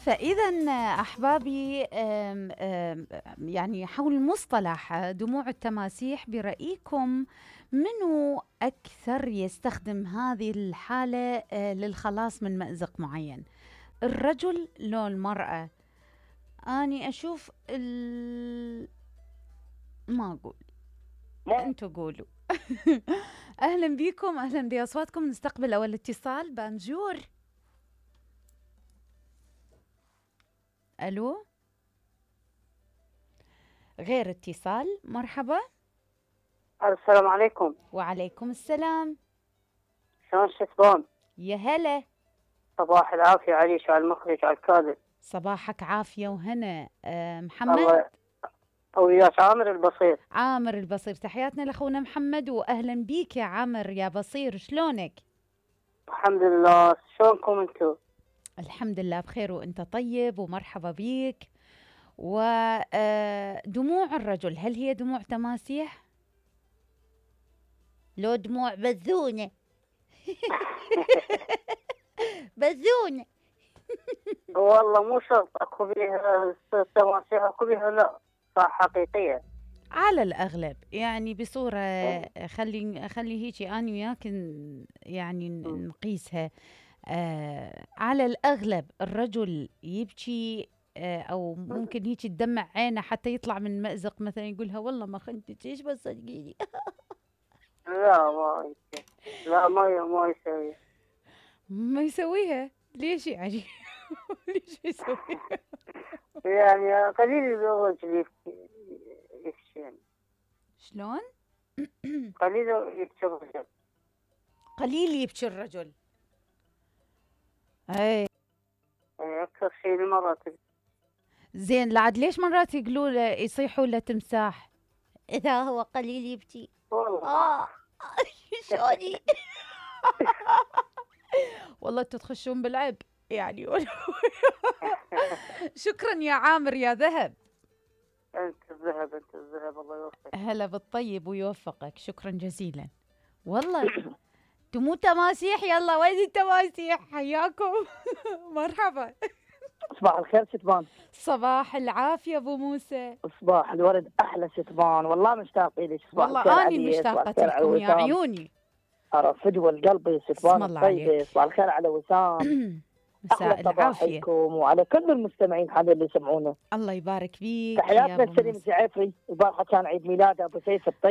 فإذا أحبابي يعني حول مصطلح دموع التماسيح برأيكم منو أكثر يستخدم هذه الحالة للخلاص من مأزق معين؟ الرجل لو المرأة؟ أني أشوف ما أقول، أنتوا قولوا. أهلا بكم، أهلا بأصواتكم. نستقبل أول اتصال. بانجور. ألو، غير اتصال. مرحبا. السلام عليكم. وعليكم السلام. شلون شتبون؟ يا هلا. صباح العافية عليش وعلى المخرج وعلى الكاذب. صباحك عافية وهنا. محمد وياك عامر البصير. عامر البصير، تحياتنا لأخونا محمد وأهلا بيك يا عامر يا بصير. شلونك؟ الحمد لله، شلونكم انتو؟ الحمد لله بخير وانت طيب، ومرحبا بيك. ودموع الرجل، هل هي دموع تماسيح؟ لو دموع بذونة؟ بذونة. والله مو شرط، اكو بيها تماسيح اكو بيها لا صح حقيقية. على الأغلب يعني بصورة خلي هيجي أنا وياك يعني نقيسها. على الأغلب الرجل يبكي أو ممكن هيك تدمع عينه حتى يطلع من مأزق، مثلا يقولها والله ما خنتك ايش بس صدقيني. لا ما لا ما يسوي. ما يسويها ليش يعني؟ ليش يسويها؟ يعني قليل الرجل يبكي يعني. شلون؟ قليل يبكي الرجل. قليل يبكي الرجل. اي اكثر شيء المرأة. زين، لعد ليش مرات يقولوا له يصيحوا له تمساح اذا هو قليل يبكي؟ والله شلوني؟ والله انتوا تخشون بالعب يعني. شكرا يا عامر يا ذهب. انت الذهب الله يوفقك. هلا بالطيب ويوفقك، شكرا جزيلا. والله تمو تماسيح. يلا وين التماسيح؟ حياكم. مرحبا. صباح الخير شتبان. صباح العافية ابو موسى. صباح الورد احلى شتبان، والله مشتاق لك. والله اني مشتاقة لكم يا عيوني. فدوى القلب شتبان الطيبة. صباح الخير على وسام. مساء العافية وعلى كل المستمعين هذا اللي يسمعونا. الله يبارك فيك. تحياتنا لسليم الجعيفري، البارحة كان عيد ميلاده ابو سيف الطيب.